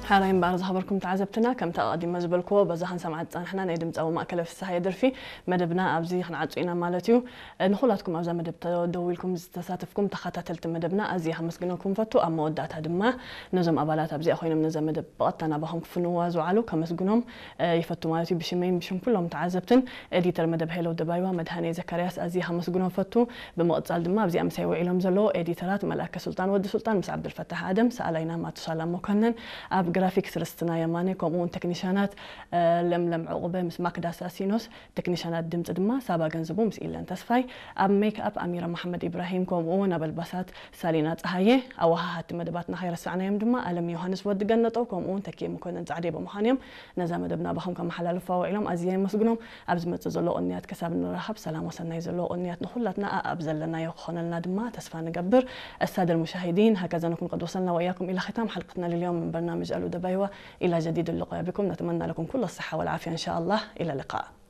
ሓራይ እምበኣር ዝኸበርኩም ተዓዘብትና፣ ከምቲ ኣቐዲመ ዝበልክዎ፣ በዛ ክንሰምዓ ዝጸናሕና ናይ ድምጻዊ ማእከለ ፍስሃየ ደርፊ መደብና ኣብዚ ክንዓጹ ኢና ማለት እዩ። ንኹላትኩም ኣብዛ መደብ ተደዊልኩም ዝተሳተፍኩም ተኸታተልቲ መደብና ኣዝየ ከመስግነኩም ፈቱ። ኣብ መወዳእታ ድማ ነዞም ኣባላት ኣብዚኣ ኮይኖም ነዛ መደብ ብቐጥታ ናባኹም ክፍንዋ ዝውዓሉ ከመስግኖም ይፈቱ ማለት እዩ። ብሽመይን ብሽም ኩሎም ተዓዘብትን ኤዲተር መደብ ሄሎ ደባይዋ መድሃኔ ዘካርያስ ኣዝየ ከመስግኖም ፈቱ። ብምቕጻል ድማ ኣብዚኣ ምሳይ ውዒሎም ዘለዉ ኤዲተራት መልኣከ ሱልጣን ወዲ ሱልጣን ምስ ዓብዱልፈታሕ ኣደም፣ ሰኣላይና ማቱሳላ መኮነን፣ ኣብ ግራፊክስ ርስትና የማነ፣ ከምኡ እውን ቴክኒሻናት ለምለም ዕቑበ ምስ ማክዳ ሳሲኖስ፣ ቴክኒሻናት ድምጺ ድማ ሳባ ገንዝቡ ምስ ኢለን ተስፋይ፣ ኣብ ሜክኣፕ ኣሚራ መሓመድ ኢብራሂም፣ ከምኡ እውን ኣብ ኣልባሳት ሳሊና ጸሃየ፣ ኣወሃሃድቲ መደባትና ከይረሳዕናዮም ድማ ኣለም ዮሃንስ ወዲ ገነጠው፣ ከምኡ እውን ተኪኤ መኮነን ጻዕዴ ብምዃን እዮም ነዛ መደብ ናባኹም ከመሓላልፋ ውዒሎም። ኣዝየ የመስግኖም። ኣብ ዝመጽእ ዘሎ ቅንያት ክሳብ ንራኸብ ሰላም ወሰናይ ዘለዎ ቅንያት ንኹላትና ኣኣብ ዘለናዮ ክኾነልና ድማ ተስፋ ንገብር። السادة المشاهدين، هكذا نكون قد وصلنا وإياكم إلى ختام حلقتنا لليوم من برنامج ألو دبايوا. إلى جديد اللقاء بكم، نتمنى لكم كل الصحة والعافية إن شاء الله. إلى اللقاء.